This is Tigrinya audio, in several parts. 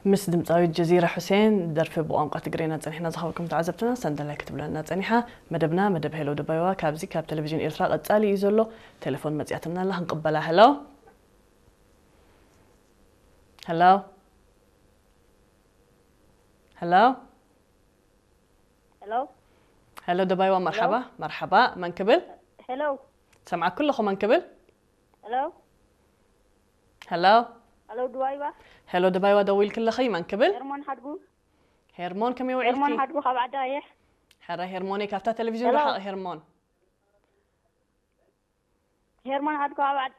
ምስ ድምፃዊት ጀዚራ ሑሴን ደርፊ ብቋንቋ ትግርኛ ጸኒሕና ዝኸበርኩም ተዓዘብትና ሰንደላይ ክትብለና ጸኒሓ። መደብና መደብ ሄሎ ደባይዋ ካብዚ ካብ ቴሌቪዥን ኤርትራ ቀጻሊ እዩ ዘሎ። ቴሌፎን መጺኣትና ኣላ ክንቅበላ። ሄሎ፣ ሄሎ፣ ሄሎ። ሄሎ። ሄሎ ደባይዋ፣ መርሓባ። መርሓባ። መን ክብል? ሄሎ። ሰምዓኩ ኣለኹ። መን ክብል? ሄሎ። ሄሎ። ሄሎ ደባይዋ። ሄሎ ደባይዋ፣ ደዊልክለኺ። መን ክብል? ሄርሞን ሓድጉ። ሄርሞን፣ ከመይ ሄርሞን ውዒልኪ? ሓድጉ ካብ ዓዲ ኣየሕ። ሕራይ ሄርሞነይ፣ ካብታ ቴሌቪዥን ሄሎ። ርሓቕ። ሄርሞን። ሄርሞን ሓድጉ ካብ ዓዲ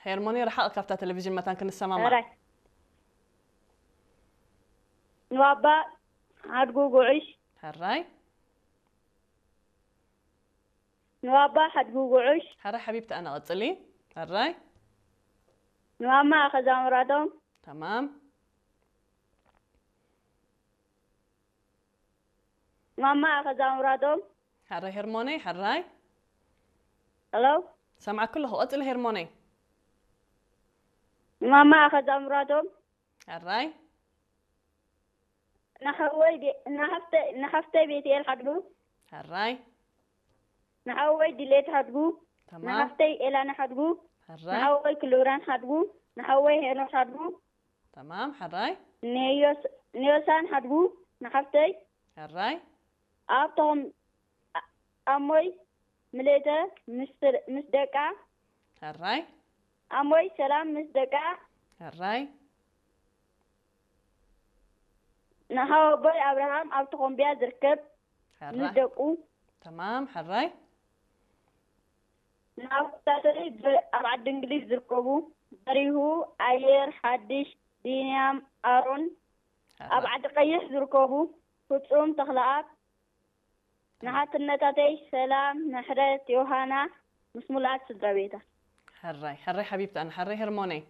ሄርሞነይ፣ ርሓቕ ካብታ ቴሌቪዥን መታን ክንሰማማዕ። ሕራይ። ንባባ ሓድጉ ጉዑሽ። ሕራይ። ንባባ ሓድጉ ጉዑሽ። ሕራይ ሓቢብቲ፣ ኣነ ቀጽሊ። ሕራይ። ንማማ ኣኸዛ ምራቶም። ተማም። ንማማ ኣኸዛ ምራቶም። ሕራይ ሄርሞነይ፣ ሕራይ። ሄሎ። ሰምዓኩ ኣለኹ። ቀጽሊ ሄርሞነይ። ንማማ ኣኸዛ ምራቶም። ሕራይ። ንሓወይ ዲ- ንሓፍተይ ንሓፍተይ ቤትኤል ሓድጉ። ሕራይ። ንሓወይ ድሌት ሓድጉ። ተማም። ንሓፍተይ ኤላና ሓድጉ። ሕራይ። ንሓወይ ክልብራን ሓድጉ። ንሓወይ ሄኖክ ሓድጉ። ተማም። ሕራይ። ንዮስ- ንዮሳን ሓድጉ። ንሓፍተይ ሕራይ። ኣብቶም ኣሞይ ምልእተ ምስ ምስ ደቃ። ሕራይ። ኣሞይ ሰላም ምስ ደቃ። ሕራይ። ንሓወቦይ ኣብርሃም ኣብ ተኾምቢያ ዝርከብ ምስ ሕራይ። ደቁ። ተማም። ሕራይ። ንኣቦታተይ ብ- ኣብ ዓዲ እንግሊዝ ዝርከቡ በሪሁ፣ ኣየር ሓድሽ፣ ቢንያም ኣሮን፣ ኣብ ሕራይ። ዓዲ ቀይሕ ዝርከቡ ፍጹም ተኽለኣብ፣ ንሓትነታተይ ሰላም፣ ምሕረት፣ ዮሃና ምስ ሙሉኣት ስድራ ቤታ። ሕራይ። ሕራይ ሓቢብቲ፣ ኣነ ሕራይ ሄርሞነይ።